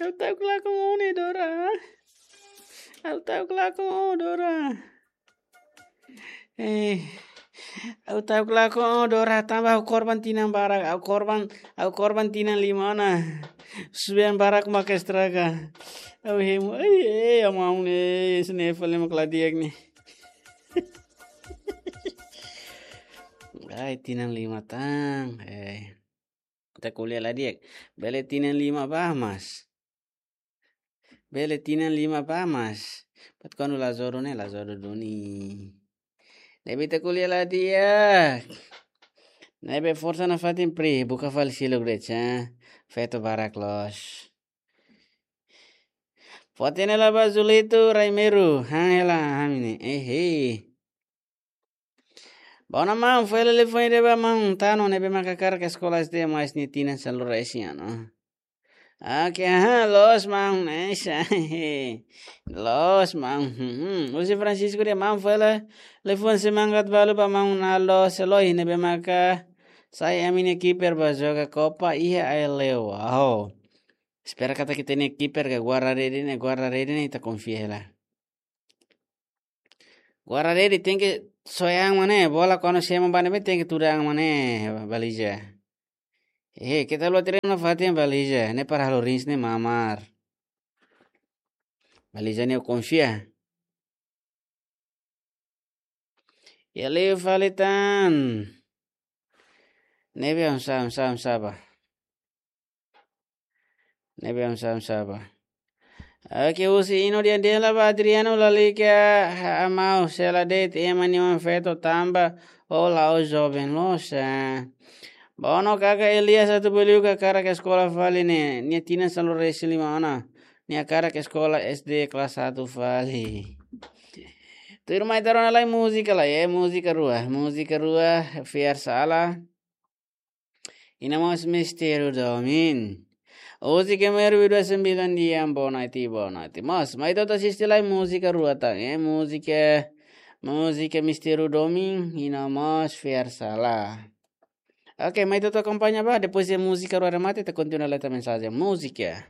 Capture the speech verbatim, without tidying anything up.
Ha'u ta'uk lakon ó ne'e, Dora. Ha'u ta'uk lakon ó, Dora. Eh, ha'u ta'uk lakon ó, Dora, tanba ha'u korban tinan barak, ha'u korban, ha'u korban tinan lima ona. Suben barak maka estraga. Ha'u hemu, eh, eh, amaun, eh, sene fale mak la di'ak ne'e. Ai, tinan lima tan, eh. Ita ko'alia la di'ak. Bele tinan lima ba, mas. Bele tinan lima ba, mas. Buat kuandu la jodoh ne'e, la jodoh duni. Ne'ebé ita ko'alia la di'ak. Ne'ebé forsa nafatin, pri, buka fali seluk de'it, ha. Feto barak loos. Fó hatene lai ba Julito Raimeru, han hela ami ne'e. Ehe. Bá ona maun, fó hela telefone ida ba maun Tano ne'ebé maka hakarak eskola S D mais nia tinan sanulu-resin ona. Oke, aha, loos maun, eh, sa-, loos maun. Hmm, husi Francisco dehan maun, fó hela telefone semangat balu ba maun Naldo Seloi ne'ebé maka sai ami-nia kiper ba joga Copa iha Aileu. Wow. Espera katak ita-nia kiper ka guarda-redes ne'e, guarda-redes ne'e ita konfia hela. Guarda-redes tenke soe an mak ne'e, bola kuandu semo ba ne'ebé tenke tuda an mak ne'e, Baliza. Eh, keta luat treinu nafatin, Baliza. Ne'e para halo rins ne'e mamar. Baliza ne'e konfia. Iha liu fali tan. Ne'ebé oinsá, oinsá, oinsá ba. Ne'ebé oinsá, oinsá ba. Oke, husi Ino dehan dehan lai ba Adriano, lalika, ha, amau, sela de'it ema nia oan feto tanba ó la'ós joven loos, ah. Bá ona kaka Elias atu beliu ka hakarak eskola fali ne'e, nia tinan sanulu-resin-lima ona. Nia hakarak eskola S D kelas satu fali. Tuirmai ita rona lai múzika lai, eh, múzika rua. Múzika rua, Fiar Sala. I nia mós Mistériu Domin. Hoje que me olvidou esse milhão de anos, boa noite, boa noite. Mas, mai ita atu asiste lai múzika rua tan, eh, múzika, múzika Mistériu Domin, i nia mós Fiar Sala. Oke, mai ita atu akompaña ba, depois de múzika rua remata, ita kontinua leta mensajen. Múzika.